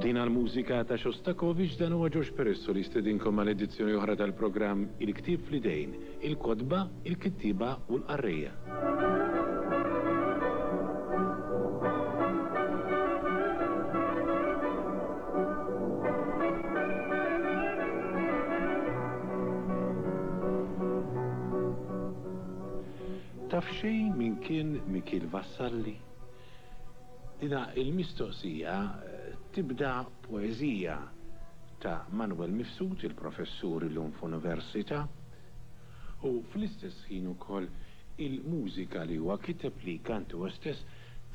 Din għall-mużika ta' Shostakovich dan huwa George Peresso li jistedinkom għal edizzjoni oħra tal-programm Il-Ktieb fl-Idejn, il-kotba, il-kittieba u l-qarrejja. Taf xejn min kien Mikiel Vassalli? Dina il-mistoqsija tibda poeżija ta' Manuel Mifsud, il-professur illum f'università, u fl-istess ħin ukoll il-mużika li huwa kiteb li jkanta huwa stess,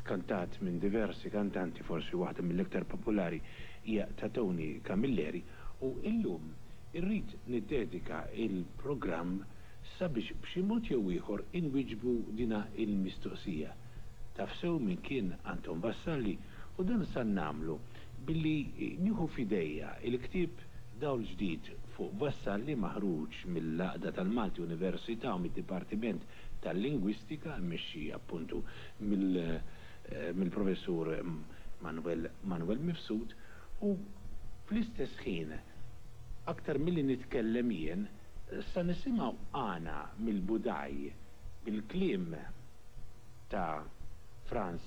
tkantat minn diversi kantanti, forsi waħda mill-iktar popolari hija ta' Tony Camilleri, u illum irrid niddedika il-programm sabiex b'xi mod jew ieħor inwieġbu dina il-mistoqsija. Taf sew min kien Anton Vassalli u dan sa nagħmlu billi nieħu f'idejja il-ktieb Dawl Ġdid fuq Vassalli maħruġ mill-Għaqda tal-Malti Università u mid-Dipartiment tal-Lingwistika mmexxi appuntu mill-Professur Manuel Manuel Mifsud u fl-istess ħin aktar milli nitkellem jien sa nisimgħu għana mill-Budaj bil-kliem ta' Frans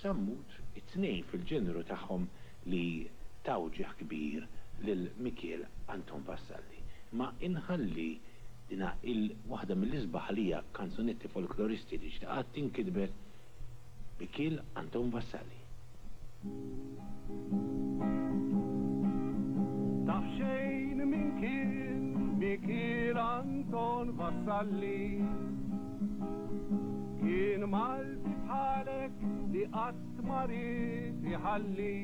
Sammut, it-tnejn fil-ġeneru tagħhom li taw ġieħ kbir lil Mikiel Anton Vassalli. Imma inħalli dina il waħda mill-isbaħ għalija kanzunetti folkloristi li qatt inkitbet, Mikiel Anton Vassalli. Taf xejn min kien Mikiel Anton Vassalli? Kien Malti bħalek li qatt ma ried iħalli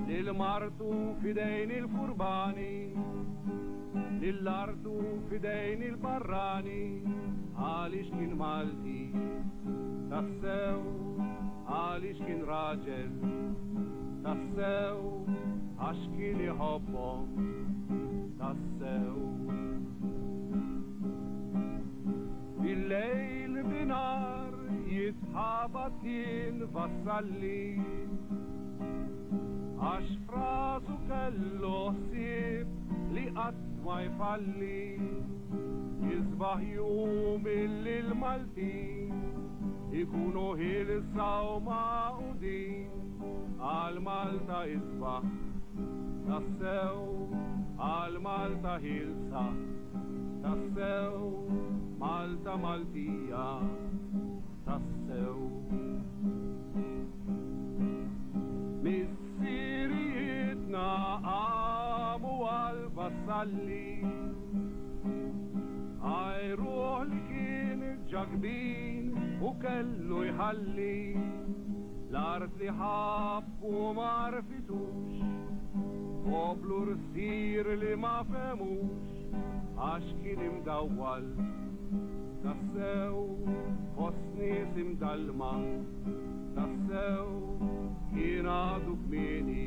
lil martu f'idejn il-furbani, lil artu f'idejn il-barrani, għaliex kien Malti tassew, għaliex kien raġel tassew, għax kien iħobbhom tassew. Bil-lejl binhar jitħabat kien Vassalli, għax f'rasu kellu ħsieb li qatt ma jfalli, jisbaħ jum illi l-Maltin ikunu ħielsa u magħqudin għal Malta isbaħ tassew, għal Malta ħielsa tassew, Malta Maltija tassew. Missirijietna qamu għal Vassalli, għajruh li kien ġakbin u kellu jħalli l-art li ħabb u ma għarfitux, poplu rsir li ma fehmux għax kien imdawwal tassew fost nies imdallma tassew kien għadu kmieni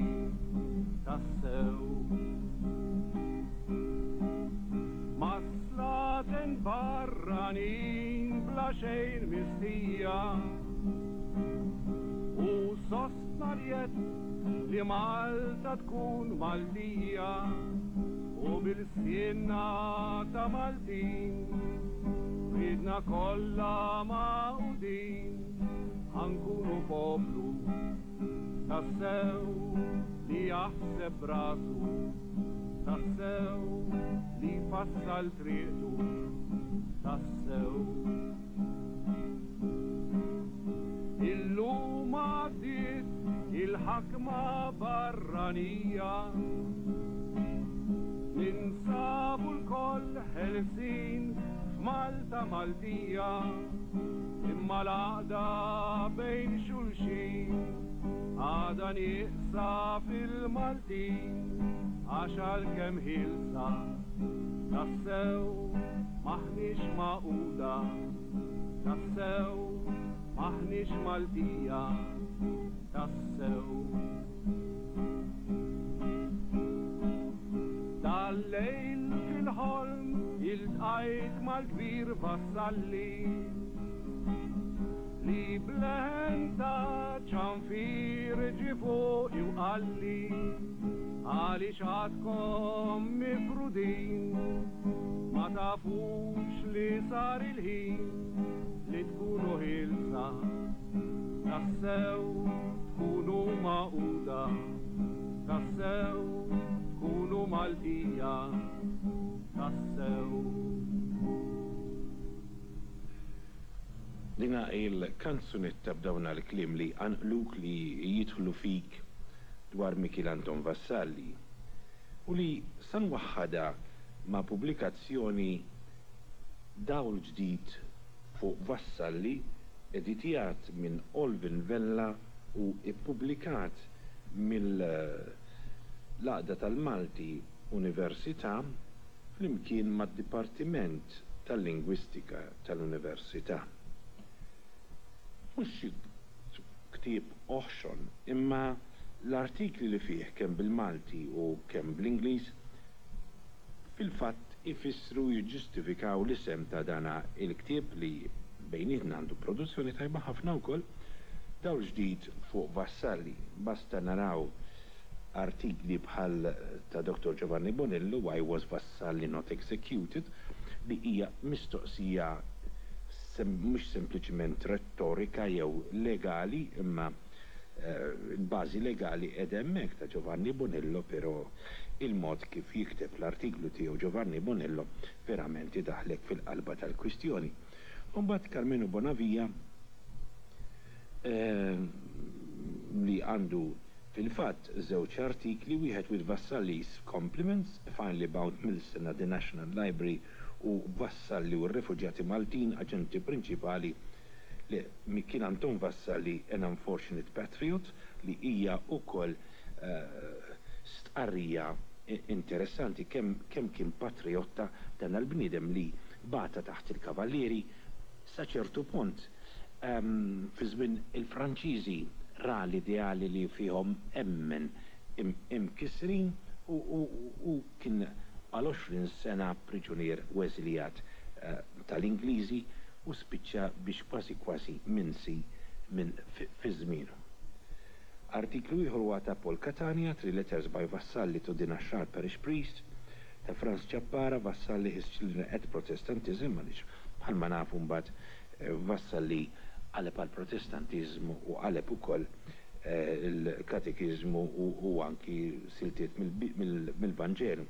tassew. Ma' slaten barranin bla xejn mistħija u sostna l-jedd li Malta tkun Maltija u bil-lsienna ta' Maltin riedna kollha magħqudin ħa nkunu poplu tassew li jaħseb b'rasu tassew li jfassal triqtu tassew. Illum għaddiet il-ħakma barranija Ninsabu lkoll ħelsin f'Malta Maltija Imma l-għaqda bejn xulxin għadha nieqsa fil-Maltin Għax għalkemm ħielsa tassew m'aħniex magħquda tassew m'aħniex Maltija tassew. Dal-lejl fil-ħolm iltqajt mal-kbir Vassalli. Li b'leħen ta' ċanfir ġie fuqi u qalli, Għaliex għadkom mifrudin, ma tafux li sar il-ħin li tkunu ħielsa, tassew tkunu magħquda, tassew tkunu Maltija, tassew. Dina il-kanzunetta b'dawna l-kliem li jqanqluk li jidħlu fik dwar Mikiel Anton Vassalli u li sa nwaħħadha ma' pubblikazzjoni Dawl Ġdid fuq Vassalli editjat minn Olvin Vella u ppubblikat mill-Għaqda tal-Malti Università flimkien mad-Dipartiment tal-Lingwistika tal-Università. Mhux xi ktieb oħxon, imma l-artikli li fih kemm bil-Malti u kemm bl-Ingliż fil-fatt ifissru u jiġġustifikaw l-isem ta' dana il-ktieb li bejnietna għandu produzzjoni tajba ħafna wkoll, Dawl Ġdid fuq Vassalli. Basta naraw artikli bħal ta' Dottor Giovanni Bonello, Why was Vassalli not executed? li hija mistoqsija mhux sempliċiment rettorika jew legali imma l-bażi legali qiegħda hemmhekk ta' Giovanni Bonello però il-mod kif jikteb l-artiklu tiegħu Giovanni Bonello verament idaħħlek fil-qalba tal-kwistjoni. U mbagħad Karmenu Bonavia li għandu fil-fatt żewġ artikli, wieħed with Vassalli's Compliments, Finally Bound Milson at the National Library u Vassalli u r-Refuġjati Maltin, Aġenti Prinċipali li Mikiel Anton Vassalli, An Unfortunate Patriot, li hija wkoll stqarrija interessanti kemm kemm kien patrijotta dan l-bniedem li bata taħt il-Kavallieri sa ċertu punt. Fi żmien il-Franċiżi ra l-ideali li fihom emmen imkissrin u kien għal 20 sena priġunier u eżiljat tal-Ingliżi u spiċċa biex kważi kważi minsi minn fi żmienu. Artiklu ieħor huwa ta' Paul Catania, Three Letters by Vassalli to the Naxxar Parish Priest, ta' Frans Ciappara, Vassalli His Children at Protestantism, għaliex bħalma nafu mbagħad Vassalli qaleb għall-Protestantiżmu u qaleb ukoll il-katekiżmu u anki siltiet mill-Vanġelu.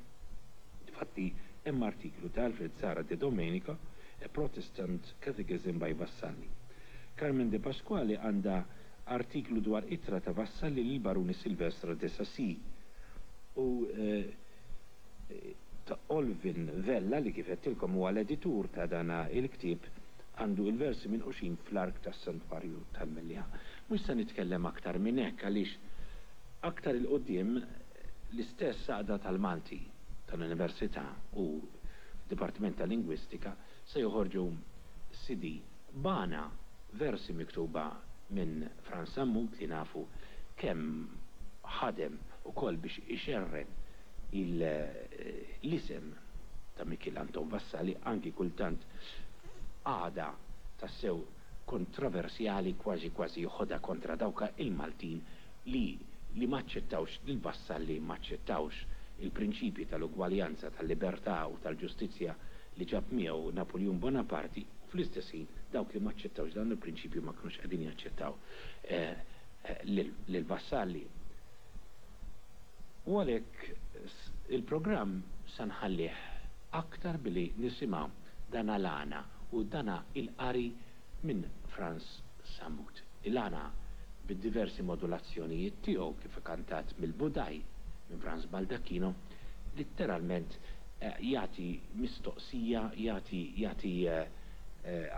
Difatti hemm artiklu ta' Alfred Zara de Domenico, A Protestant Catechism by Vassalli. Carmen De Pasquale għandha artiklu dwar ittra ta' Vassalli lill-Baruni Silvestre de Sacy u ta' Olvin Vella li kif għedtilkom huwa l-editur ta' dan il-ktieb għandu il-versi minquxin fl-ark tas-Santwarju tal-Mellieħa. Mhux se nitkellem aktar minn hekk għaliex aktar 'il quddiem l-istess Għaqda tal-Malti tal-Università u d-Dipartiment tal-Lingwistika se joħorġu CD b'għana versi miktuba minn Frans Sammut li nafu kemm ħadem ukoll biex ixerred l-isem ta' Mikiel Anton Vassalli anki kultant f'qagħda tassew kontroversjali kważi kważi joħodha kontra dawk il-Maltin li li ma aċċettawx lil Vassalli ma aċċettawx il-prinċipji tal-ugwaljanza, tal-libertà u tal-ġustizzja li ġab miegħu Napuljun Bonaparti u fl-istess ħin dawk li ma aċċettawx dawn il-prinċipji ma kinux qegħdin jaċċettaw lil Vassalli. U għalhekk il-programm sa nħallih aktar billi nisimgħu dana l-għana u dana il-qari minn Frans Sammut. Il-għana bid-diversi modulazzjonijiet tiegħu kif kantat mill-Budaj minn Frans Baldacchino litteralment jagħti mistoqsija, jagħti jagħti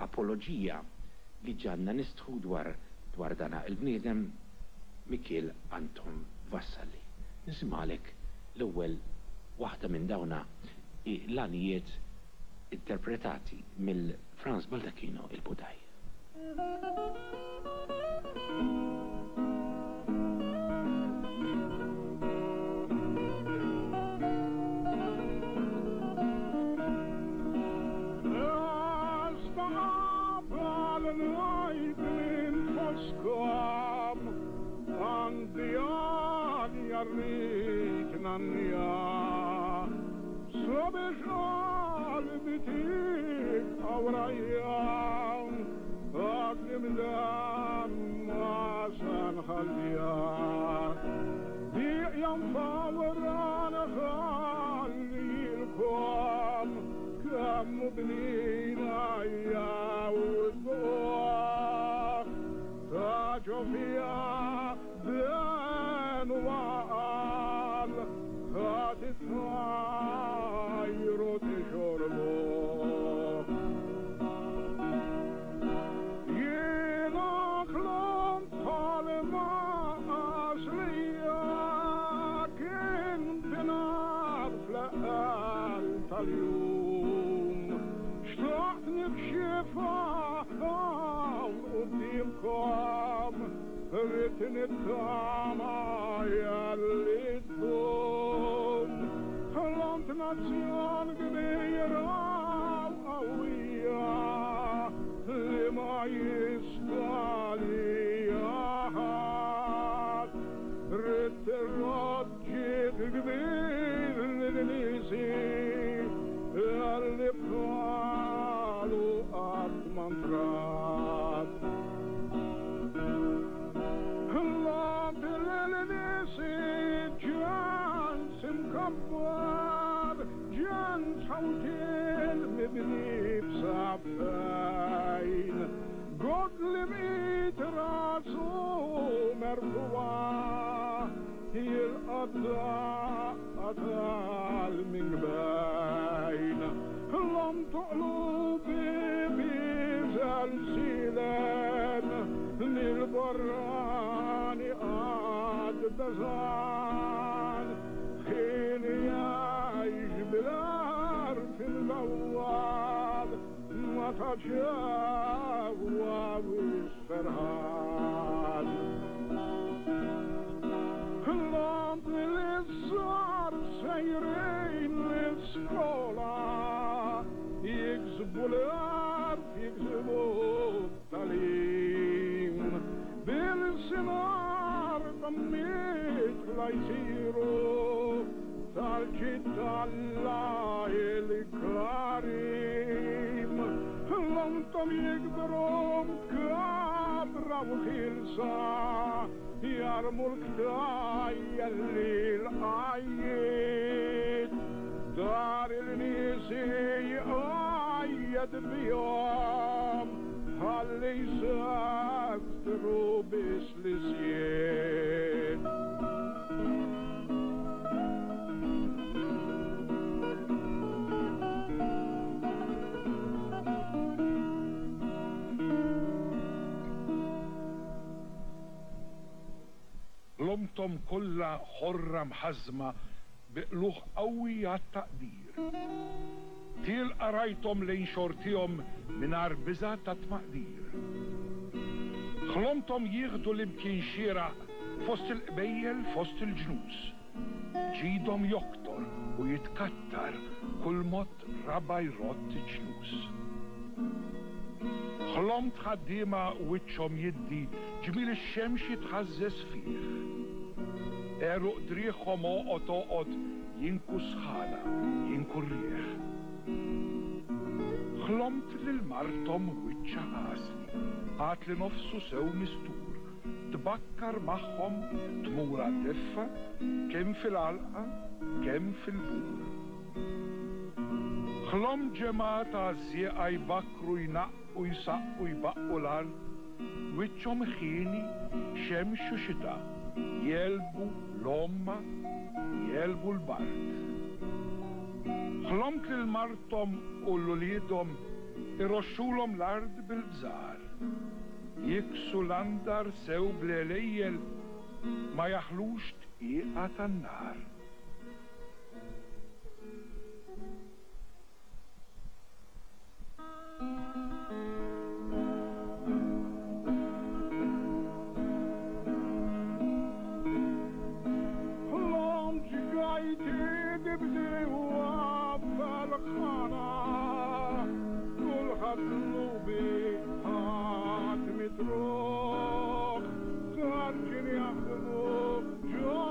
apoloġija li ġagħalna nistħu dwar dwar dana il-bniedem Mikiel Anton Vassalli. Nisimgħalek l-ewwel waħda minn dawna l-għanijiet interpretati mill Frans Baldacchino il-Budaj. rrid nannija sabiex qalbi tibqa' warajja għadni mdemma se nħalliha. Bieqja mfawra nħallilkom kemm hu bnina jew dbuħ ta' ġo fiha den u għaqal ħa titħajru tixorbuh. Jiena ħlomt ħolma għażlija kien binhar fl-eqqel tal-jum. Xtaqt nikxifha hawn quddiemkom, ridt nittama jelli ddum. Ħlomt nazzjon kbira u qawwija li ma jista' lija ħadd. Ridt irrodd ġid kbir lil niesi li bħalu qatt ma ntrat. Ħlomt lil niesi ġens imkabbar, ġens ħawtiel mibni b'saffejn. God li bqit rasu merfugħa jilqa' d-daqqa tal-minkbejn. Ħlomt qlubi biżelsilen mill-barrani qatt beżgħan. Ħin jgħix bil-għerf il-bawwal ma ta' ġewwa wisq ferħan. Ħlomt li ż-żgħar sejrin l-iskola jiksbu l-għerf, jiksbu t-tagħlim. Bil-sinar ta' mitla jsiru tal-ġid t'Alla il-Karim. Ħlomthom jikbru mkabbra u ħielsa jarmu l-ktajjen lil-qajjiet. Dar il-nies jqajjed bihom ħalli jseftru biss l-isjiet. Ħlomthom kollha ħorra mħażżma bi qlugħ qawwi għat-taqdir. Tielqa rajthom lejn xortihom mingħajr biża' ta' tmaqdir. Ħlomthom jieħdu l-imkien xieraq fost il-qbejjel fost il-ġnus. Ġidhom joktor u jitkattar kull mod raba' jrodd iċ-ċnus. Ħlomt ħaddiema wiċċhom jiddi ġmiel ix-xemx jitħażżeż fih. Għeruq driegħhom għoqod għoqod jinku s-sħana, jinku r-riħ. Ħlomt lil marthom wiċċha għasli, għad li nofsu sew mistur, tbakkar magħhom tmur għad-deffa kemm fil-għalqa kemm fil-bur. Ħlomt ġemgħa ta' għażżieqa jbakkru jnaqqu jsaqqu jbaqqu l-art, wiċċhom ħieni, xemx u xita, jegħlbu l-għomma, jegħlbu l-bard. Ħlomt lil marthom u 'l uliedhom iroxxulhom l-art bil-bżar, jiksu l-andar sew bl-għelejjel ma jaħlux dqiqa tan-nar. Ħlomt ġgajti bdiewa f'Elħana, kulħadd lubi ħadd mitruħ, ħarġin jaħdmu ġo.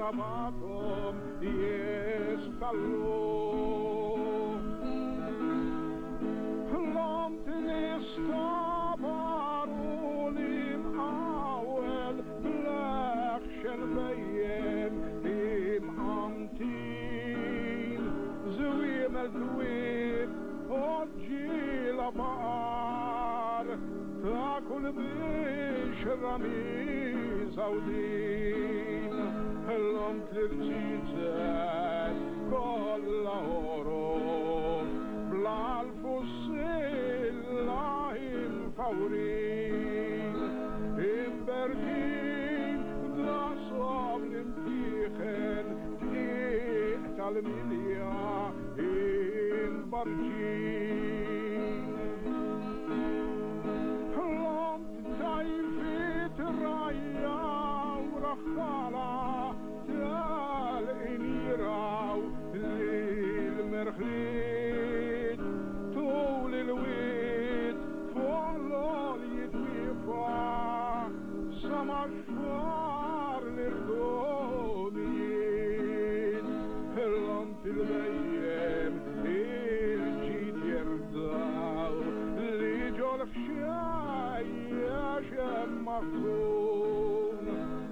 qrabathom jistallu. Ħlomt li stabar u li mqawel bl-eħxen bhejjem imqantin, żwiemel dwieb għoġġiela baqar ta' kull bixra miżgħudin. Ħlomt li rziezet kollha ħorof bl-għalf u s-silla imfawrin, imberkin daqshom l-imtieħen dqiq tal-milja imbarġin. Ħlomt dgħajfiet rgħajja u raħħala telqin jirgħu lill-merħliet tul il-wied fuq l-għoljiet wieqfa sa max-xfar l-irdumijiet. Ħlomt il-bhejjem il-ġid jerdaw li ġol-ħxejjex hemm maħżun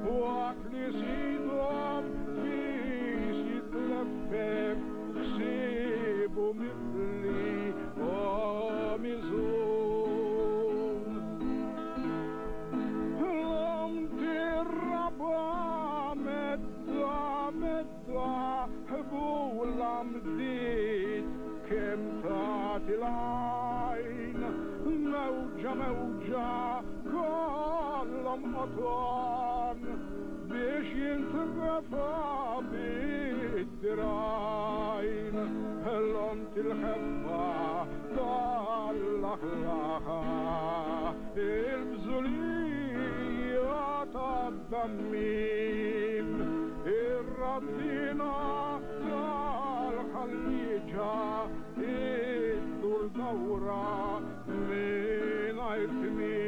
waqt li sidhom fis jitleffef ħsiebu mifli u miżun. Ħlomt ir-raba' medda medda ħbula mdiet kemm tagħti l-għajn mewġa mewġa kollhom qoton biex jintrefa' bid-dirgħajn. Ħlomt il-ħeffa tal-laħlaħa il-bżulija tad-dammim ir-raddina tal-ħallieġa iddur dawra mingħajr tmiem.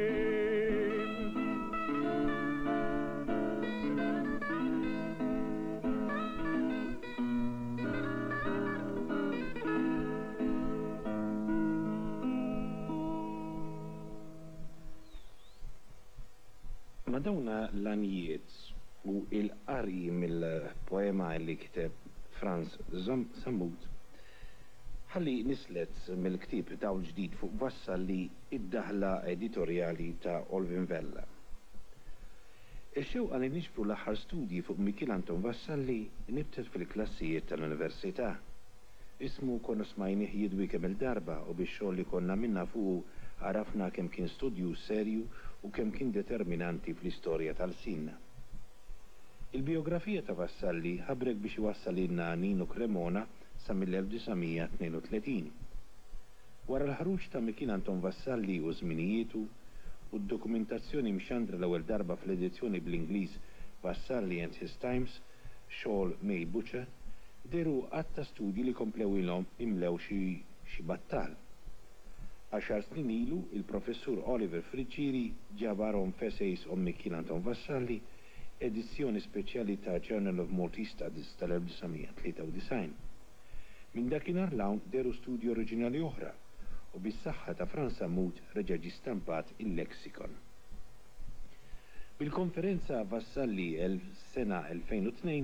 Ma' dawna l-għanjiet u l-qari mill-poema li kiteb Frans Sammut, ħalli nislet mill-ktieb Dawl Ġdid fuq Vassalli id-daħla editorjali ta' Olvin Vella. Ix-xewqa li niġbru l-aħħar studji fuq Mikiel Anton Vassalli nibtet fil-klassijiet tal-Università. Ismu konna smajnih jidwi kemm-il darba u bix-xogħol li konna għamilna fuqu għarafna kemm kien studjuż serju u kemm kien determinanti fl-istorja ta' lsienna. Il-bijografija ta' Vassalli ħabrek biex iwassalilna Nino Cremona sa mill-1932. Wara l-ħruġ ta' Mikiel Anton Vassalli u Żminijietu u d-dokumentazzjoni mxandra l-ewwel darba fl-edizzjoni bl-Ingliż Vassalli and His Times, xogħol May Butcher, dehru għadd ta' studji li komplew ilhom imlew xi xi battal. Għaxar snin ilu, il-Professur Oliver Friggieri ġabarhom f'Essays on Mikiel Anton Vassalli, edizzjoni speċjali ta' Journal of Maltese Studies tal-1993. Minn dakinhar 'l hawn dehru studji oriġinali oħra u bis-saħħa ta' Frans Sammut reġa' ġie stampat il-Lexicon. Bil-Konferenza Vassalli sena 2002,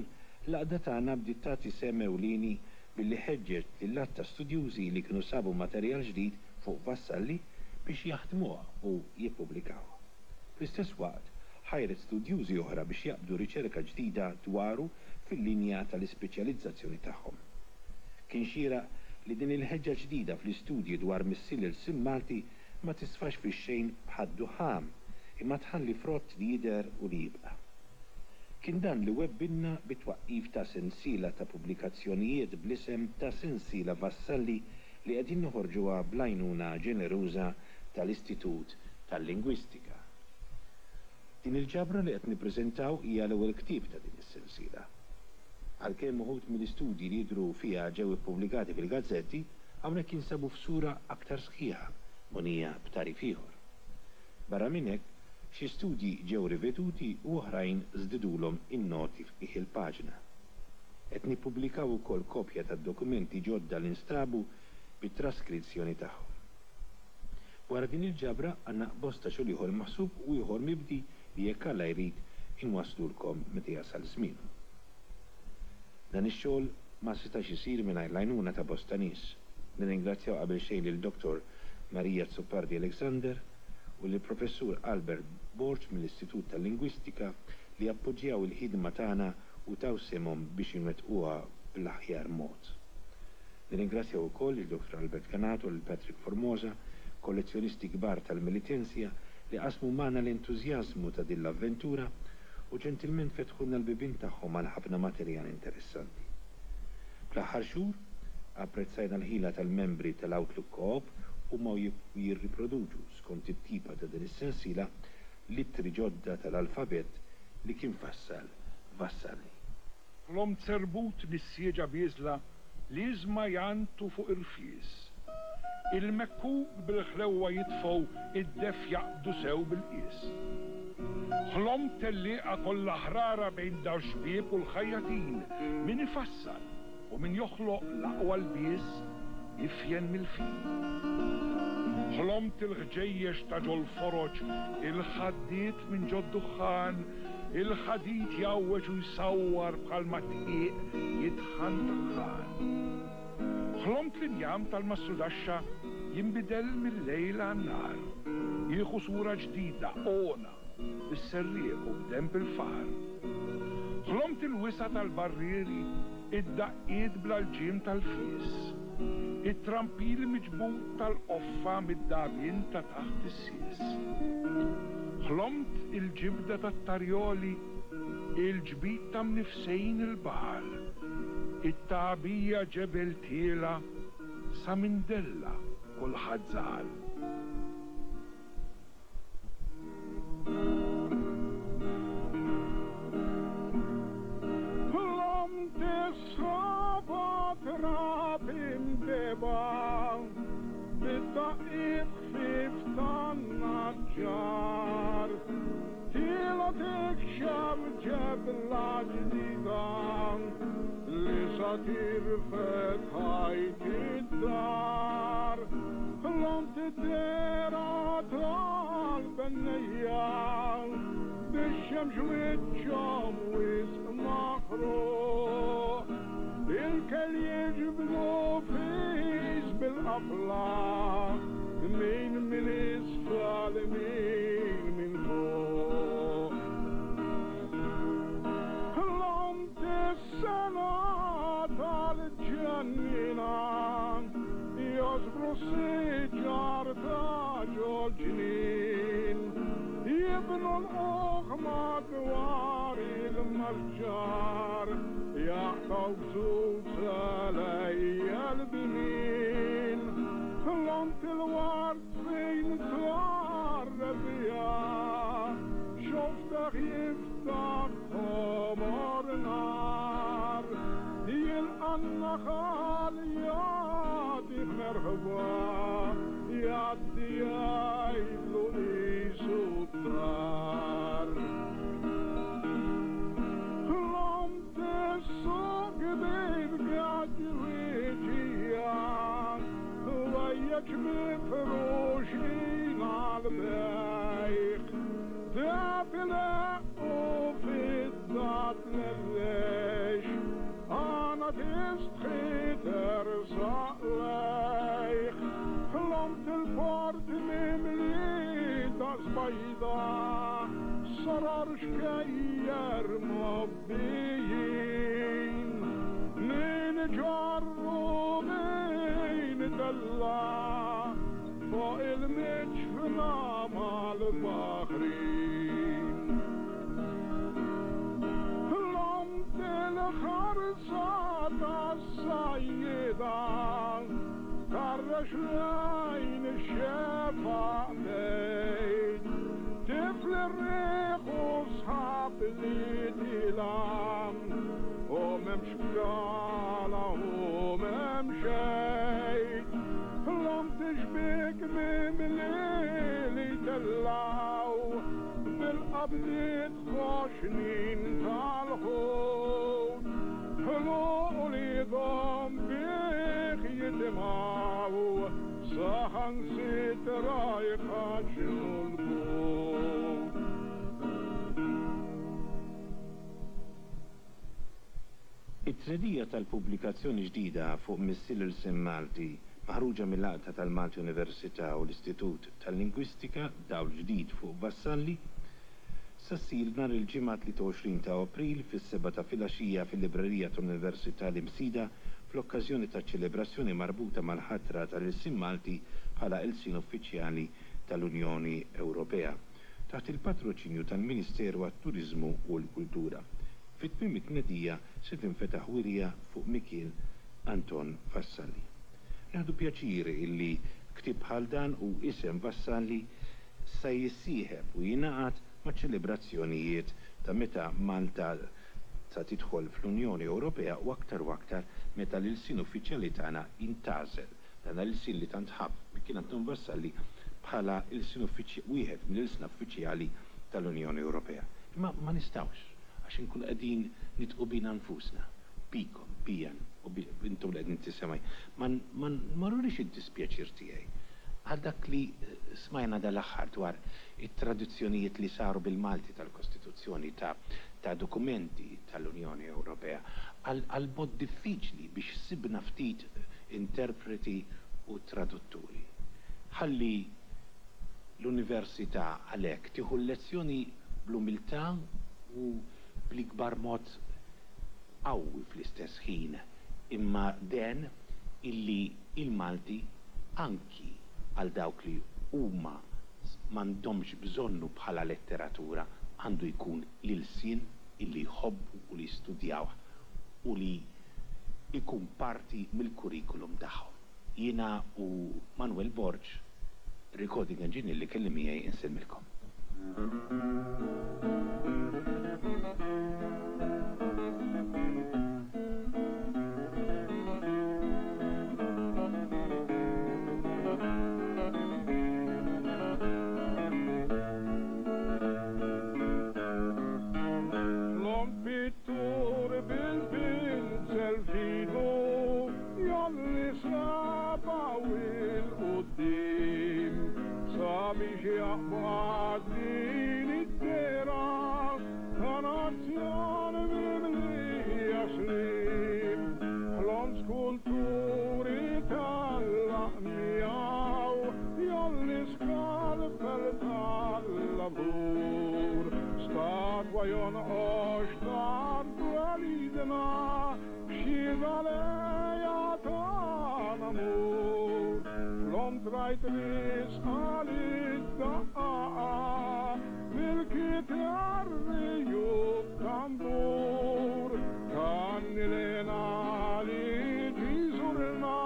l-għaqda tagħna bdiet tagħti sehem ewlieni billi ħeġġet lil għadd ta' studjużi li kienu sabu materjal ġdid fuq Vassalli biex jaħdmuh u jippubblikawh. Fl-istess waqt, ħajret studjużi oħra biex jaqbdu riċerka ġdida dwaru fil-linja tal-ispeċjalizzazzjoni tagħhom. Kien xieraq li din il-ħeġġa ġdida fl-istudji dwar missier l-ilsien Malti ma tisfax fix-xejn bħad-duħħam, imma tħalli frott li jidher u li jibqa'. Kien dan li webbilna bit-twaqqif ta' sensiela ta' pubblikazzjonijiet bl-isem ta' Sensiela Vassalli li qegħdin noħorġuha bl-għajnuna ġeneruża tal-Istitut tal-Lingwistika. Din il-ġabra li qed nippreżentaw hija l-ewwel ktieb ta' din is-sensiela. Għalkemm uħud mill-istudji li jidhru fiha ġew ippubblikati fil-gazzetti, hawnhekk jinsabu f'sura aktar sħiħa, mogħnija b'tagħrif ieħor. Barra minn hekk, Xi studji ġew riveduti u oħrajn żdidulhom in-noti f'qiegħ il-paġna. Qed nippubblikaw ukoll kopja tad-dokumenti ġodda li nstabu bit-traskrizzjoni tagħhom. Wara din il-ġabra għandna bosta xogħol ieħor maħsub u ieħor mibdi li jekk Alla jrid inwasslulkom meta jasal żmienu. Dan ix-xogħol ma setax isir mingħajr l-għajnuna ta' bosta nies. Nirringrazzjaw qabel xejn lil Dottor Maria Azzopardi Alexander u lill-Professur Albert Borg mill-Istitut tal-Lingwistika li appoġġjaw il-ħidma tagħna u taw sehemhom biex inwettquha bl-aħjar mod. Nirringrazzjaw ukoll lil Dottor Albert Ganato u lil Patrick Formosa, kollezzjonisti kbar tal-Militensja li qasmu magħna l-entużjażmu ta' din l-avventura u ġentilment fetħulna l-bibien tagħhom għal ħafna materjal interessanti. Fl-aħħar xhur, apprezzajna l-ħila tal-membri tal-Outlook Co-op huma u jirriproduċu, skont it-tipa ta' din is-sensiela, l-ittri ġodda tal-alfabett li kien fassal Vassalli. Ħlomt serbut nissieġa bieżla l-iżma jgħanntu fuq irfies. Il-mekkuk bil-ħlewwa jitfgħu id-deff jaqbdu sew bil-qies. Ħlomt tellieqa kollha ħrara bejn dax-xbieb u l-ħajjatin, min ifassal u min joħloq l-aqwa lbies ifjen mill-fin. Ħlomt il-ħġejjex ta' ġol-foroġ, il-ħaddied minn ġod-duħħan, il-ħadid jgħawweġ u jsawwar bħalma d-dqiq jitħan taħħan. Ħlomt l-injam tal-mastrudaxxa jinbidel mil-lejl għan-nhar, jieħu sura ġdida, ogħna, bis-serrieq u b'denb il-far. Ħlomt il-wisa' tal-barrieri, id-daqqiet bla lġiem tal-fies, it-trampil miġbud tal-qoffa mid-dagħbien ta' taħt is-sies. Ħlomt il-ġibda tat-tarjoli, il-ġbid ta' mnifsejn il-baħar, it-tagħbija ġebel tiela' sa minn della kulħadd żagħal. Ħlomt is-sħaba trab imdebgħa bid-daqqiet ħfief tan-naġġar Tiela' tikxef ġebla ġdida li sa tirfed ħajt id-dar. Ħlomt id-dehra tal-bennejja bix-xemx wiċċhom wisq maħruq. Il-kel jiġbdu fis bil-qafla min minn isfel min minn fuq. Ħlomt is-sena tal-ġennina josbru s-siġar ta' ġol-ġnien jibnu l-qugħ madwar il-masġar jaqtgħu gzuz għelejjel bnien Ħlomt il-ward fejn tlar rebbiegħa xoftaħ jiftaħ ħomor nar jilqa' n-naħal jagħtih merħba jgħaddi jgħidlu qisu d-dar. Ħlomt is-suq kbir b'gaġġ Ħwejjeġ mifruxin għall-bejgħ, deheb ileqq u fidda tlellex, għana tistħi tersaq lejh. Ħlomt il-port mimli daqs bajda, sarar xkejjer mgħobbijin, min ġarr u min tella' fuq il-miġfna mal-baħrin. Ħlomt il-ħarsa tas-sajjieda tharrex lejn ix-xefaq bejt tifli r-riħ u sħab li tila' u m'hemmx bqala u m'hemm xejn. Ħlomt ix-xbiek mimli li tellgħu. Qabdiet ħoxnin tal-ħut, ħluq uliedhom bih jitimgħu, saħansitra jħaġġnu l-but. It-tnedija tal-pubblikazzjoni ġdida fuq Missier l-Ilsien Malti, maħruġa mill-Għaqda tal-Malti Università u l-Istitut tal-Lingwistika, Dawl Ġdid fuq Vassalli, sa ssir nhar il-Ġimgħa 23 ta' April fis-sebgħa ta' filgħaxija fil-Librerija tal-Università l-Imsida fl-okkażjoni taċ-ċelebrazzjoni marbuta mal-ħatra tal-ilsien Malti bħala ilsien uffiċjali tal-Unjoni Ewropea taħt il-patroċinju tal-Ministeru għat-Turiżmu u l-Kultura. Fi tmiem it-tnedija se tinfetaħ wirja fuq Mikiel Anton Vassalli. Nieħdu pjaċir illi ktieb bħal dan u isem Vassalli sa jissieħeb u jingħaqad maċ-ċelebrazzjonijiet ta' meta Malta sa tidħol fl-Unjoni Ewropea u aktar u aktar meta l-ilsien uffiċjali tagħna jintgħażel, dan l-ilsien li tant ħabb Mikiel Anton Vassalli bħala ilsien wieħed mill-ilsna uffiċjali tal-Unjoni Ewropea. Imma ma nistgħux, għax inkunu qegħdin nidqu bina nfusna, bikom, bija u intom li qegħdin tisimgħu, ma ma nurix id-dispjaċir tiegħi għal dak li smajna dal-aħħar dwar it-traduzzjonijiet li saru bil-Malti tal-Kostituzzjoni ta' ta' dokumenti tal-Unjoni Ewropea, għal għal mod diffiċli biex sibna ftit interpreti u tradutturi. Ħalli l-Università għalhekk tieħu l-lezzjoni bl-umiltà u bl-ikbar mod qawwi fl-istess ħin imma den illi il-Malti anki għal dawk li huma m'għandhomx bżonnu bħala letteratura għandu jkun l-ilsien illi jħobbu u li jistudjawh u li jkun parti mill-kurrikulum tagħhom. Jiena u Manuel Borg, recording engineer li kelli miegħi insellmilkom. Ħlom pittur bil-pinzel f'idu jgħolli sabgħu 'l quddiem sabiex jaqbad din id-dehra ta' nazzjon mimlija sliem. Ħlom skulturi tgħallaq miegħu jgħolli skalpell tal-lavur. Statwa jonqox tar twelidna f'xhieda l-għeja ta' namur. Ħlomt rajt riesqa lid-daqqaqa bil-kitarri u t-tambur. Tgħanni lena li ġie jżurna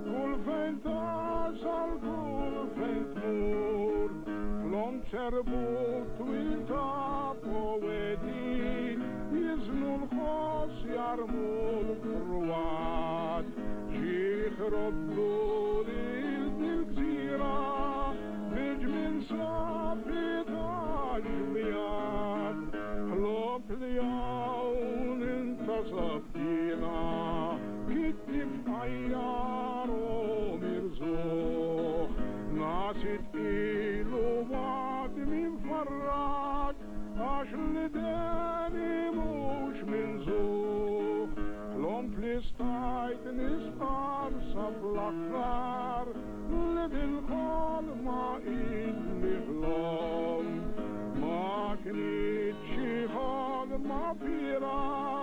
kull fejn tasal kull fejn tmur. Ħlomt ċerbut twil ta' poeti jiżnu l-ħoss jarmu l-frwat. Ġieħ roddu lil dil-gżira bil-ġmiel safi tax-xbijat. Ħlomt li hawn intasabt jiena kittieb fqajjar u mirżugħ. Nasi tqil u għadmi mfarrak għax l-ideni mhux minżugħ. Ħlomt li stajt nistqarr sa fl-aħħar li dil-ħolma illi ħlomt ma kinitx xi ħolma fiergħa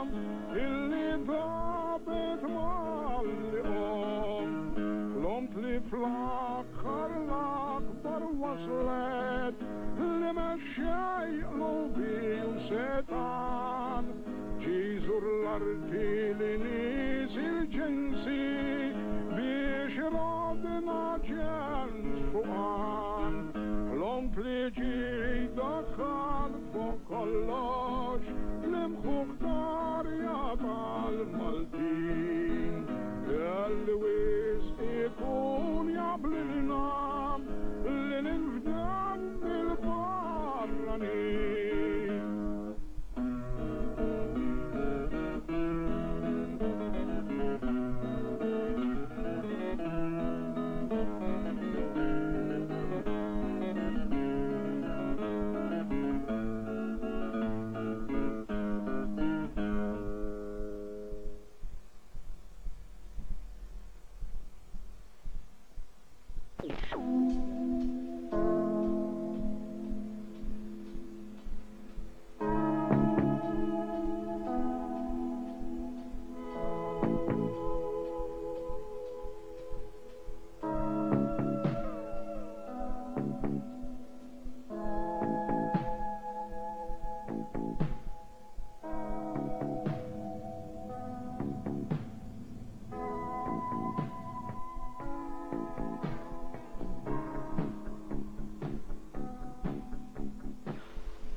illi dabet malli qomt. Ħlomt li fl-aħħar l-akbar waslet li mexxej qlubi u setgħan ġie jżur l-arti li nies il-ġensi biex irodna ġens fuqan. Ħlomt li ġie jdaħħal fuq kollox l-imħuħ tarja tal-Maltin. Kelli wisq ikun jaqblilna li ninfdew mill-barranin.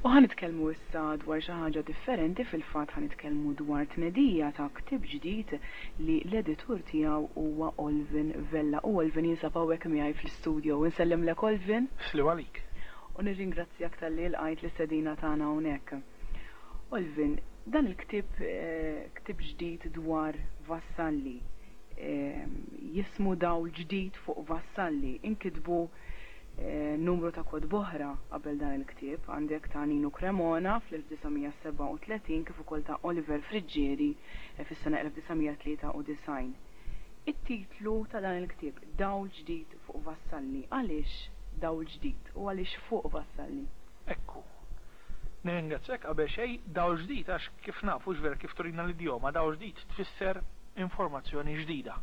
U ħa nitkellmu issa dwar xi ħaġa differenti, fil-fatt ħa nitkellmu dwar tnedija ta' ktieb ġdid li l-editur tiegħu huwa Olvin Vella. U Olvin jinsab hawnhekk miegħi fl-istudio. Insellimlek Olvin. Sliem għalik. U nirringrazzjak talli lqajt l-istedina tagħna hawnhekk. Olvin, dan il-ktieb ktieb ġdid dwar Vassalli, jismu Dawl Ġdid fuq Vassalli, inkitbu numru ta' kotba oħra qabel dan il-ktieb. Għandek ta' Ninu Cremona fl-1937 kif ukoll ta' Oliver Friggieri fis-sena 1993. It-titlu ta' dan il-ktieb, Dawl Ġdid fuq Vassalli, għaliex Dawl Ġdid u għaliex fuq Vassalli? Ekku. Nirringrazzjak qabel xejn. Dawl ġdid għax kif nafu, hux vera, kif turina l-idjoma, dawl ġdid tfisser informazzjoni ġdida.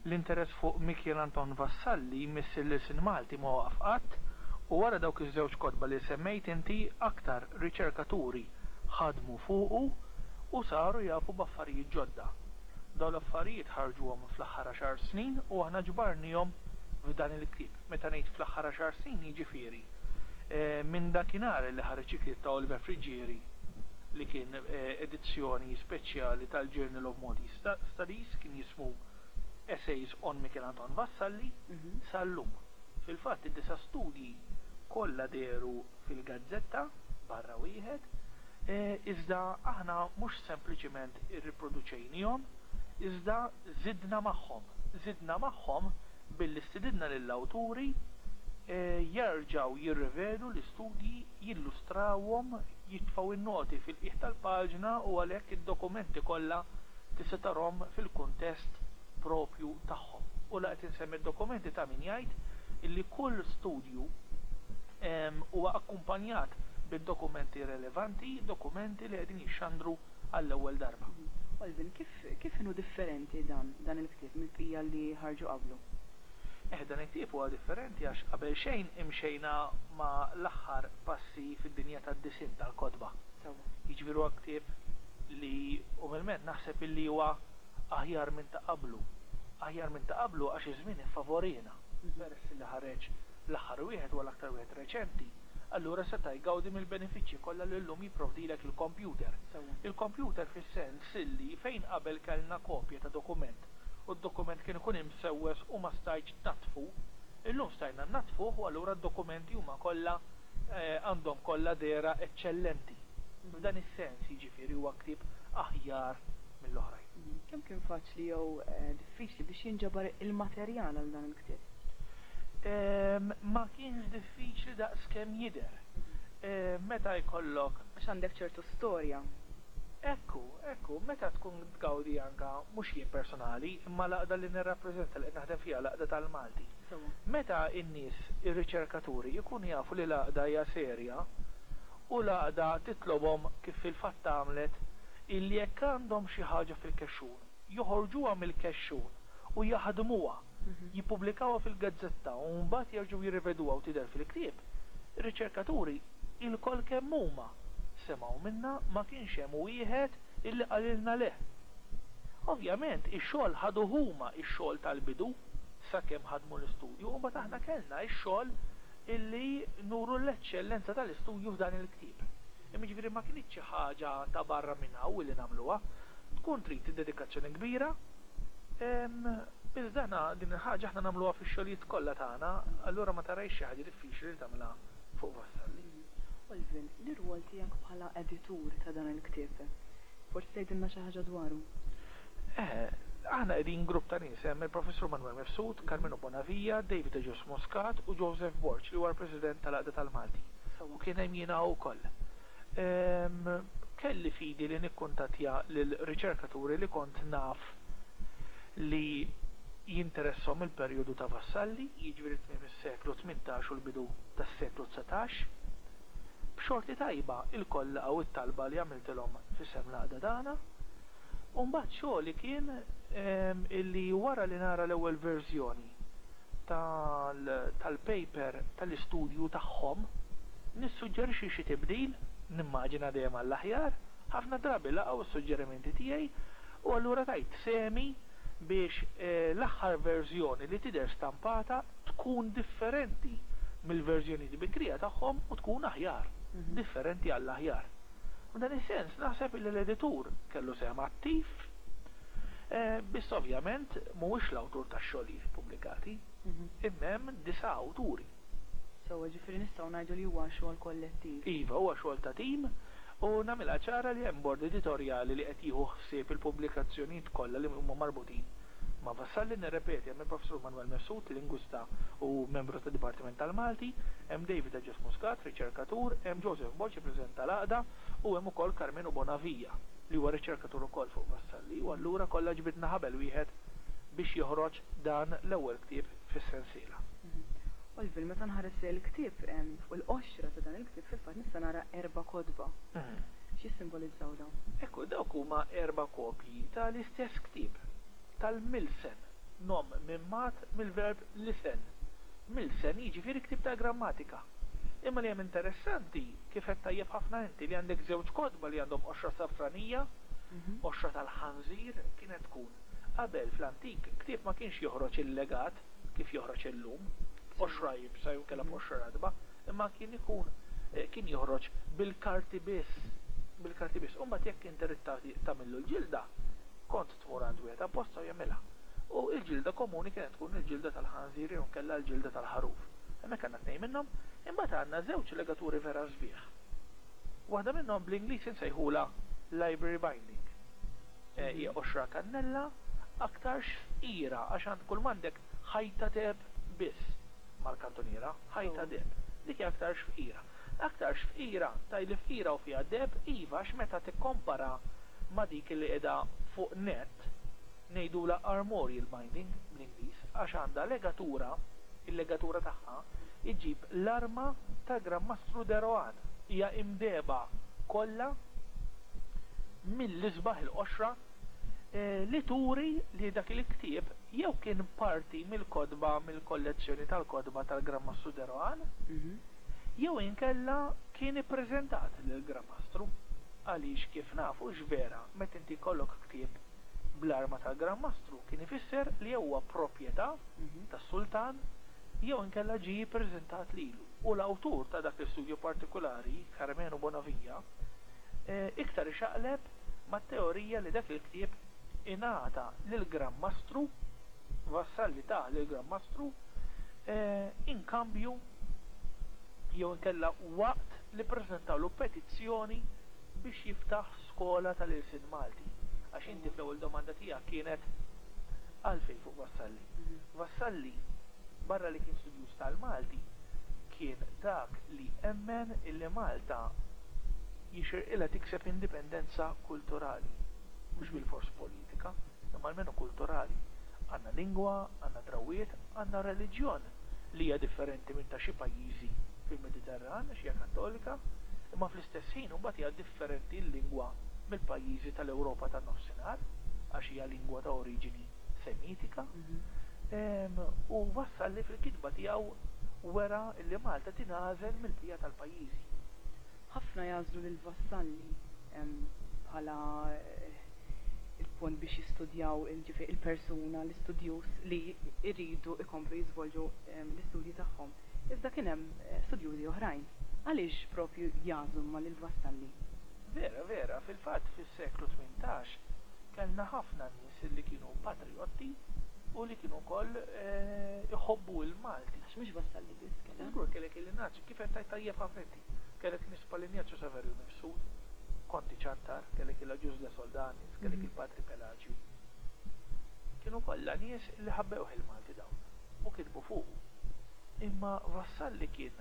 L-interess fuq Mikiel Anton Vassalli, missier l-ilsien Malti, ma waqaf qatt u wara dawk iż-żewġ kotba li semmejt inti, aktar riċerkaturi ħadmu fuqu u saru jafu b'affarijiet ġodda. Dawn l-affarijiet ħarġuhom fl-aħħar għaxar snin u aħna ġbarniehom f'dan il-ktieb. Meta ngħid fl-aħħar għaxar snin jiġifieri minn dakinhar li ħareġ il-ktieb ta' Oliver Friggieri li kien edizzjoni speċjali tal-Journal of Maltese Studies, kien jismu Essays on Michel Anton Vassalli, sal-lum. Fil-fatt id-disa' studji kollha dehru fil-gazzetta barra wieħed, iżda aħna mhux sempliċiment irriproduċejniehom, iżda żidna magħhom. Żidna magħhom billi stididna lill-awturi jerġgħu jirrivedu l-istudji, jillustrawhom, jitfgħu n-noti fil-qiegħ tal-paġna u għalhekk id-dokumenti kollha tista' tarhom fil-kuntest proprju tagħhom. U la qed insemmi d-dokumenti ta' min jgħid illi kull studju huwa akkumpanjat bid-dokumenti relevanti, dokumenti li qegħdin jixxandru għall-ewwel darba. Olvin, kif kif inhu differenti dan dan il-ktieb mill-bqija li ħarġu qablu? Eh, dan il-ktieb huwa differenti għax qabel xejn imxejna ma' l-aħħar passi fid-dinja tad-disinn tal-kotba. Sewwa. Jiġifieri huwa ktieb li umilment naħseb illi huwa aħjar minn ta' qablu. Aħjar minn ta' qablu għax iż-żmien iffavoriena. Peress li ħareġ l-aħħar wieħed huwa l-aktar wieħed reċenti, allura seta' jgawdi mill-benefiċċji kollha li llum jipprovdilek il-kompjuter. Il-kompjuter fis-sens illi fejn qabel kellna kopja ta' dokument u d-dokument kien ikun imsewwes u ma stajtx tnaddfu, illum stajna nnaddfuh u allura d-dokumenti huma kollha għandhom kollha dehra eċċellenti. F'dan is-sens, jiġifieri huwa ktieb aħjar mill-oħrajn. Kemm kien faċli jew diffiċli biex jinġabar il-materjal għal dan il-ktieb? Ma kienx diffiċli daqs kemm jidher. Meta jkollok. Għax għandek ċertu storja. Ekku, ekku, meta tkun tgawdi anka, mhux jien personali, imma l-għaqda li nirrappreżenta li qed naħdem fiha, l-Għaqda tal-Malti. Meta n-nies, ir-riċerkaturi, ikunu jafu li l-għaqda hija serja u l-għaqda titlobhom, kif fil-fatt għamlet, illi jekk għandhom xi ħaġa fil-kexxun, joħorġuha mill-kexxun u jaħdmuha, jippubblikawha fil-gazzetta u mbagħad jerġgħu jirriveduha u tidher fil-ktieb, ir-riċerkaturi ilkoll kemm huma semgħu minna, ma kienx hemm wieħed illi qalilna le. Ovvjament ix-xogħol ħaduh huma x-xogħol tal-bidu sakemm ħadmu l-istudju u mbagħad aħna kellna x-xogħol illi nuru l-eċċellenza tal-istudju f'dan il-ktieb. Imma jiġifieri ma kinitx xi ħaġa ta' barra minn hawn illi nagħmluha. Tkun trid dedikazzjoni kbira, Iżda aħna din il-ħaġa aħna nagħmluha fix-xogħlijiet kollha tagħna, allura ma tarahiex xi ħaġa diffiċli li tagħmilha fuq Vassalli. Olvin, l-irwol tiegħek bħala editur ta' dan il-ktieb, forsi tgħidilna xi ħaġa dwaru? Eh, aħna qegħdin grupp ta' nies, hemm il-Professur Manuel Mifsud, Karmenu Bonavia, David Agius Muscat u Joseph Borg li huwa l-President tal-Għaqda tal-Malti. U kien hemm jiena wkoll. Kelli fidi li nikkuntattja lil riċerkaturi li kont naf li jinteresshom il-perjodu ta' Vassalli, jiġifieri tmiem is-seklu 18 u l-bidu tas-seklu 19. B'xorti tajba ilkoll laqgħu t-talba li għamiltilhom f'isem l-għaqda tagħna. U mbagħad xogħli kien illi wara li nara l-ewwel verżjoni tal-paper tal-istudju tagħhom, nissuġġerixxi xi tibdil, nimmaġina dejjem għall-aħjar, ħafna drabi laqgħu s-suġġerimenti tiegħi u allura tajt sehmi biex l-aħħar verżjoni li tidher stampata tkun differenti mill-verżjonijiet bikrija tagħhom u tkun aħjar. Differenti għall-aħjar. F'dan is-sens naħseb li l-editur kellu sehem attiv, biss ovvjament mhuwiex l-awtur tax-xogħlijiet ippubblikati, imma hemm disa' awturi. Sewwa, ġifieri nistgħu ngħidu li huwa xogħol kollettiv. Iva, huwa xogħol ta' tim u nagħmilha ċara li hemm bord editorjali li qed jieħu ħsieb il-pubblikazzjonijiet kollha li huma marbutin ma' Vassalli. Nirrepeti, hemm il-Professur Manuel Mifsud, lingwista u membru tad-Dipartiment tal-Malti, hemm David Agius Muscat, riċerkatur, hemm Joseph Borg, il-President tal-Għaqda, u hemm ukoll Karmenu Bonavia, li huwa riċerkatur ukoll fuq Vassalli. U allura kollha ġbidna ħabel wieħed biex joħroġ dan l-ewwel ktieb fis-sensiela. Olvin, meta nħares lejn il-ktieb, fuq il-qoxra ta' dan il-ktieb fil-fatt nista' nara erba' kotba. X'jissimbolizzaw dawn? Ekku, dawk huma erba' kopji ta' l-istess ktieb, tal-Milsen, nom mimmat mill-verb lisen. Milsen jiġifieri ktieb ta' grammatika. Imma li hemm interessanti, kif għedt tajjeb ħafna inti, li għandek żewġ kotba li għandhom qoxra safranija, qoxra tal-ħanżir kienet tkun. Qabel, fl-antik, ktieb ma kienx joħroġ illegat kif joħroġ illum, b'qoxra iebsa jew inkella b'qoxra ratba, imma kien ikun kien joħroġ bil-karti biss, bil-karti biss. U mbagħad jekk inti ridt tagħmillu l-ġilda, kont tmur għand wieħed apposta u jagħmilha. U l-ġilda komuni kienet tkun il-ġilda tal-ħanżir jew inkella l-ġilda tal-ħaruf. Hemmhekk għandna tnejn minnhom. Imbagħad għandna żewġ legaturi vera sbieħ. Waħda minnhom bl-Ingliż insejħulha library binding. Hija qoxra kannella, aktarx fqira għax għand kull m'għandek ħajta deheb biss mal-kantuniera, ħajta deheb. Dik hija aktarx fqira. Aktarx fqira, tgħidli fqira u fiha deheb, iva għax meta tikkompara ma' dik li qiegħda fuq nett, ngħidulha armorial binding bl-Ingliż, għax għandha legatura, il-legatura tagħha iġġib l-arma tal-Gran Mastru de Rohan. Hija imdehba kollha mill-isbaħ il-qoxra li turi li dak il-ktieb jew kien parti mill-kotba mill-kollezzjoni tal-kotba tal-Gran Mastru de Rohan jew inkella kien ippreżentat lill-Gran Mastru. Għaliex kif nafu x'vera meta inti jkollok ktieb bl-arma tal-Gran Mastru kien ifisser li jew huwa proprjetà tas-sultan jew inkella ġie ppreżentat lilu. U l-awtur ta' dak l-istudju partikulari, Karmenu Bonavia, iktar ixaqleb mat-teorija li dak il-ktieb ingħata lill-Gran Mastru, Vassalli tah lill-Gran Mastru, inkambju jew inkella waqt li ppreżentawlu petizzjoni biex jiftaħ skola tal-ilsien Malti. Għax inti fl-ewwel domanda tiegħek kienet għalfejn fuq Vassalli. Vassalli, barra li kien studjuż tal-Malti, kien dak li emmen illi Malta jixirqilha tikseb indipendenza kulturali. Mhux bilfors politika, imma almenu kulturali. Għandna lingwa, għandna drawwiet, għandna reliġjon li hija differenti minn ta' xi pajjiżi fil-Mediterran għax hija Kattolika, imma fl-istess ħin imbagħad hija differenti l-lingwa mill-pajjiżi tal-Ewropa tan-Nofsinhar għax hija lingwa ta' oriġini Semitika. U Vassalli fil-kitba tiegħu wera li Malta tingħażel mill-bqija tal-pajjiżi. Ħafna jagħżlu lil Vassalli bħala il-punt biex jistudjaw ġifieri il-persuna, l-istudjuż li jridu jkomplu jiżvolġu l-istudji tagħhom. Iżda kien hemm studjużi oħrajn. Għaliex propju jagħżlu huma lil Vassalli? Vera, vera, fil-fatt fis-seklu 18 kellna ħafna nies li kienu patrijotti u li kienu wkoll iħobbu l-Malti. Għax mhux Vassalli biss kien hemm. Żgur kellek il-Inazju, kif qed tgħid tajjeb ħafna inti. Kellek nies bħal Injazju Saverju Mifsud, Konti Ciantar, kellek il-Agius de Soldanis, kellek il-Patri Pelaġju. Kienu kollha nies li ħabbewh il-Malti dawn u kitbu fuqu. Imma Vassalli kien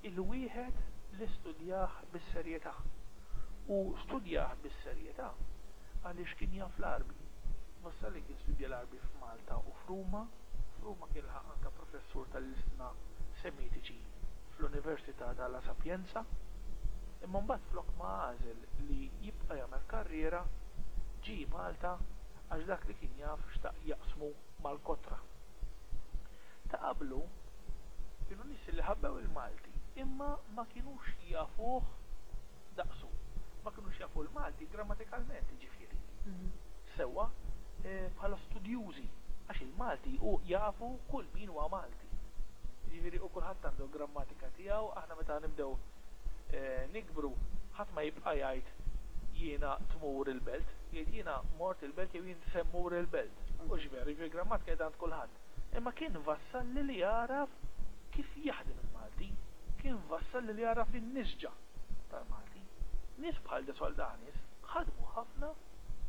il-wieħed li studjah bis-serjetà. U studjah bis-serjetà għaliex kien jaf l-Għarbi. Vassalli kien studja l-Għarbi f'Malta u f'Ruma. F'Ruma kien laħaq anke professur tal-ilsna Semitiċi fl-Università ta' La Sapienza. Imma mbagħad flok ma għażel li jibqa' jagħmel karriera, ġie Malta għax dak li kien jaf xtaq jaqsmu mal-kotra. Ta' qablu kienu nies li ħabbew il-Malti imma ma kinux jafuh daqsu. Ma kinux jafu l-Malti grammatikalment, jiġifieri. Sewwa bħala studjużi għax il-Malti hu jafu kull min huwa Malti. Jiġifieri u kulħadd għandu l-grammatika tiegħu, aħna meta nibdew. Nikbru, ħadd ma jibqa' jgħid jiena tmur il-belt, jgħid jiena mort il-belt jew jien se mmur il-belt. Hux veru, jiġifieri grammatika qiegħda għand kulħadd. Imma kien Vassalli li għaraf kif jaħdem il-Malti, kien Vassalli li għaraf in-nisġa tal-Malti. Nies bħal De Soldanis ħadmu ħafna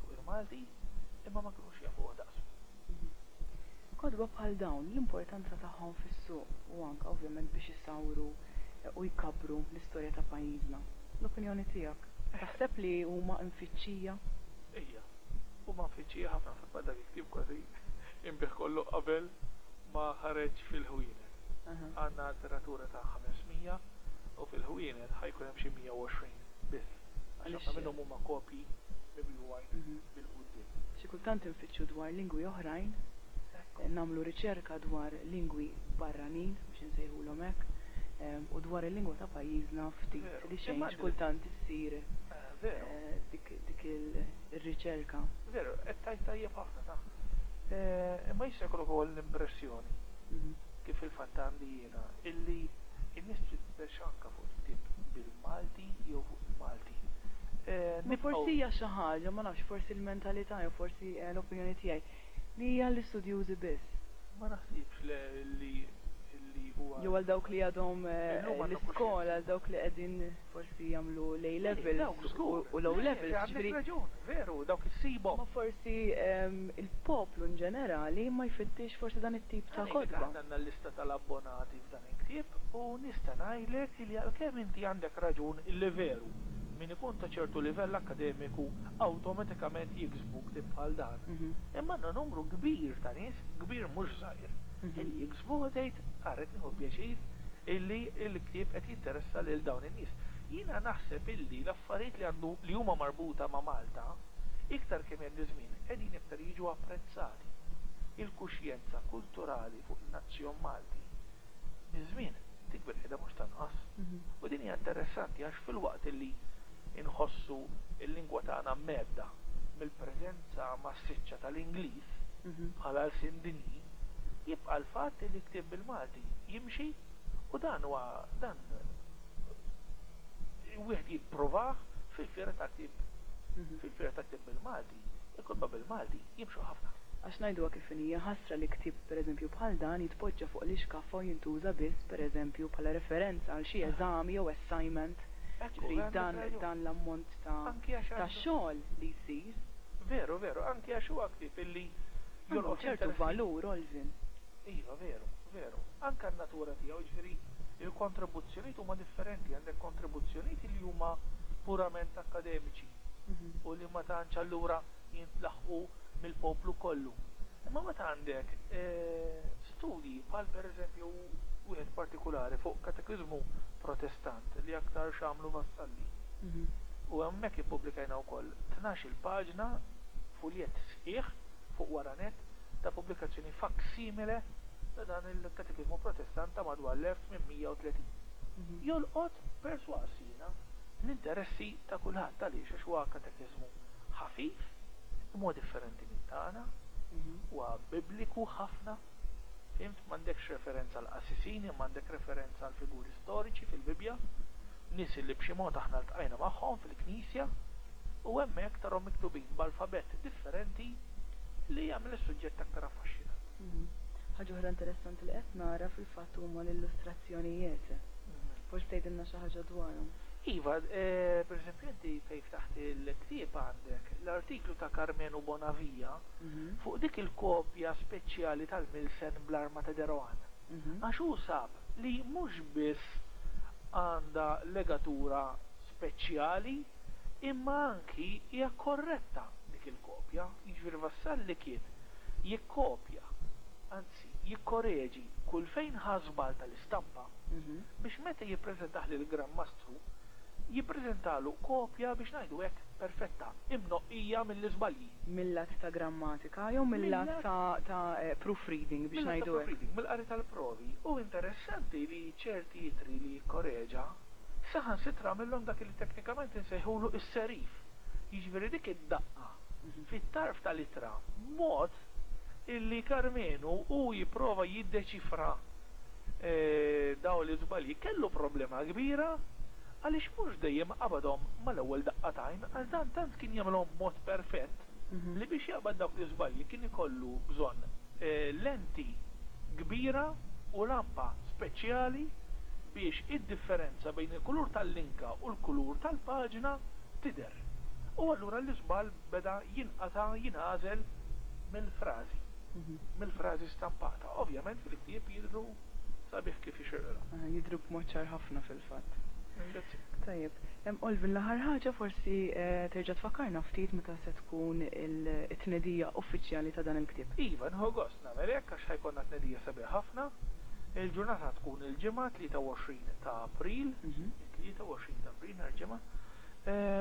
fuq il-Malti imma ma kinux jafuh daqsu. Kotba bħal dawn, l-importanza tagħhom fis-suq u anke ovvjament biex isawru u jkabbru l-istorja ta' pajjiżna. L-opinjoni tiegħek? Taħseb li huma mfittxija? Ija, huma mfittxija ħafna. Fil-fatt dak il-ktieb kważi inbiegħ kollu qabel ma ħareġ fil-ħwienet. Għandna tiratura ta' 500 u fil-ħwienet ħa jkun hemm xi 120 biss. Għax ħafna minnhom huma kopji mibjugħin bil-quddiem. Xi kultant infittxu dwar lingwi oħrajn, nagħmlu riċerka dwar lingwi barranin, biex insejħulhom hekk, u dwar il-lingwa ta' pajjiżna ftit li xejn xi kultant issir dik ir-riċerka. Veru, qed tgħid tajjeb ħafna ta'. Imma jista' jkollok ukoll l-impressjoni, kif fil-fatt għandi jiena, illi n-nies tfittex anke fuq il-ktieb bil-Malti jew fuq il-Malti. Ma forsi hija xi ħaġa, ma nafx, forsi l-mentalità jew forsi l-opinjoni tiegħi, li hija għall-istudjużi biss. Ma naħsibx le li li huwa. Jew għal dawk li għadhom l-iskola, għal dawk li qegħdin forsi jagħmlu l-A levels u l-O levels, jiġifieri. Għandek raġun, veru, dawk issibhom. Ma forsi l-poplu in ġenerali ma jfittix forsi dan it-tip ta' kotba. Aħna għandna l-lista tal-abbonati f'dan il-ktieb u nista' ngħidlek li għalkemm inti għandek raġun illi veru, min ikun ta' ċertu livell akkademiku awtomatikament jiksbu ktieb bħal dan, imma għandna numru kbir ta' nies, kbir mhux żgħir, illi jiksbuh u tgħid ara qed nieħu pjaċir illi l-ktieb qed jinteressa lil dawn in-nies. Jiena naħseb illi l-affarijiet li għandu li huma marbuta ma' Malta, iktar kemm jgħaddi żmien qegħdin iktar jiġu apprezzati. Il-kuxjenza kulturali fuq in-nazzjon Malti miż-żmien tikber qiegħda mhux tonqos. U din hija interessanti għax filwaqt illi nħossu l-lingwa tagħna mhedda mill-preżenza massiċċa tal-Ingliż bħala lsien dinji, jibqa' l-fatt li ktieb bil-Malti jimxi u dan huwa dan wieħed jippruvah fil-fiera ta' ktieb fil-fiera ta' ktieb bil-Malti, il-kotba bil-Malti jimxu ħafna. Għax ngħiduha kif inhi, hija ħasra li ktieb pereżempju bħal dan jitpoġġa fuq l-ixkaffa u jintuża biss pereżempju bħala referenza għal xi eżami jew assignment. Jiġifieri dan dan l-ammont ta' ta' xogħol li jsir. Veru, veru, anki għax huwa ktieb illi Għandu ċertu valur, Olvin. Iva, veru, veru. Anke n-natura tiegħu, jiġifieri il-kontribuzzjonijiet huma differenti, għandek kontribuzzjonijiet li huma purament akkademiċi u li ma tantx allura jintlaħqu mill-poplu kollu. Imma meta għandek studji bħal pereżempju wieħed partikulari fuq katekiżmu Protestant li aktarx għamlu Vassalli. U hemmhekk ippubblikajna wkoll 12-il paġna, fuljett sħiħ fuq wara nett ta' pubblikazzjoni faksimile ta' dan il-katekiżmu Protestant ta' madwar l-1830. Jolqot, persważ jiena, l-interessi ta' kulħadd. Għaliex? Għax huwa katekiżmu ħafif, imma huwa differenti minn tagħna, huwa bibliku ħafna, fhimt? M'għandekx referenza għal qassisin imma għandek referenza għal figuri storiċi fil-Bibbja, nies li b'xi mod aħna ltqajna magħhom fil-Knisja, u hemmhekk tarhom miktubin b'alfabett differenti li jagħmel is-suġġett aktar affaxxinanti. Ħaġa oħra interessanti li qed nara fil-fatt huma l-illustrazzjonijiet. Forsi tgħidilna xi ħaġa dwarhom. Iva, pereżempju inti fejn ftaħt il-ktieb għandek l-artiklu ta' Karmenu Bonavia fuq dik il-kopja speċjali tal-Milsen bl-arma ta' De Rohan. Għax hu sab li mhux biss għandha legatura speċjali imma anki hija korretta dik il-kopja, jiġifieri Vassalli kien jikkopja, anzi jikkoreġi kull fejn ħa żball tal-istampa biex meta jippreżentah lill-Gran Mastru jippreżentalu kopja biex ngħidu hekk perfetta, imnoqqija mill-iżbalji. Mil-lat ta' grammatika jew mil-lat ta' proofreading biex Mil-lat ta' ngħidu hekk? proofreading, mill-qari tal-provi. Hu interessanti li ċerti ittri li jikkoreġa saħansitra għamillhom dak li teknikament insejħulu s-serif, jiġifieri dik id-daqqa fit-tarf tal-ittra b'mod illi Karmenu hu jipprova jiddeċifra dawn l-iżbalji kellu problema kbira. Għaliex mhux dejjem qabadhom mal-ewwel daqqa t'għajn għax dan tant kien jagħmilhom b'mod perfett li biex jaqbad dawk l-iżbalji kien ikollu bżonn lenti kbira u lampa speċjali biex id-differenza bejn il-kulur tal-linka u l-kulur tal-paġna tidher. U allura l-iżball beda jinqata' jingħażel mill-frażi, mill-frażi stampata. Ovvjament fil-ktieb jidhru sabiħ kif jixirqilhom. Jidhru b'mod ċar ħafna fil-fatt. Ringrazzjak. Tajjeb. Olvin, l-aħħar ħaġa forsi terġa' tfakkarna ftit meta se tkun it-tnedija uffiċjali ta' dan il-ktieb. Iva, nieħu gost nagħmel hekk għax ħa jkollna tnedija sabiħa ħafna. Il-ġurnata tkun il-Ġimgħa 23 ta' April, it-23 ta' April nhar Ġimgħa,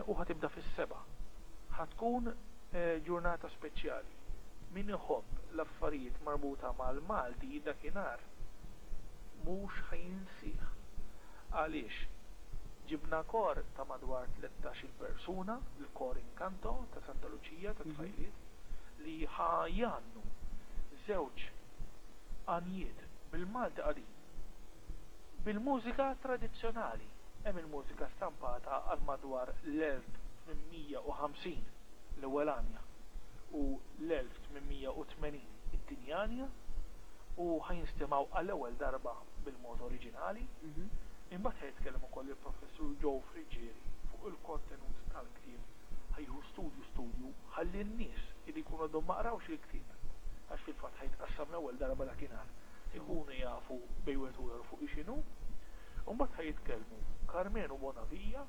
u ħa tibda fis-sebgħa. Ħa tkun ġurnata speċjali. Min iħobb l-affarijiet marbuta mal-Malti dakinhar mhux ħa jinsih. Għaliex ġibna kor ta' madwar 13-il persuna, il-Kor Incanto ta' Santa Luċija tat-tfajliet, li ħa jgħannu żewġ għanjiet bil-Malti qadim, bil-mużika tradizzjonali. Hemm il-mużika stampata għal madwar l-1850 l-ewwel għanja u l-1880 it-tieni għanja u ħa jinstemgħu għall-ewwel darba bil-mod oriġinali. Imbagħad ħa jitkellem ukoll il-Professur Joe Friggieri fuq il-kontenut tal-ktieb, ħa jieħu studju studju ħalli n-nies li jkunu għadhom ma qrawx il-ktieb, għax fil-fatt ħa jitqassam l-ewwel darba dakinhar, ikunu jafu bejn wieħed u ieħor fuq x'inhu. U mbagħad ħa jitkellmu Karmenu Bonavia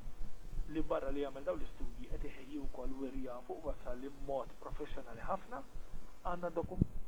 li barra li jagħmel dawn l-istudji qed iħejji wkoll wirja fuq Vassalli b'mod professjonali ħafna. Għandna dokument.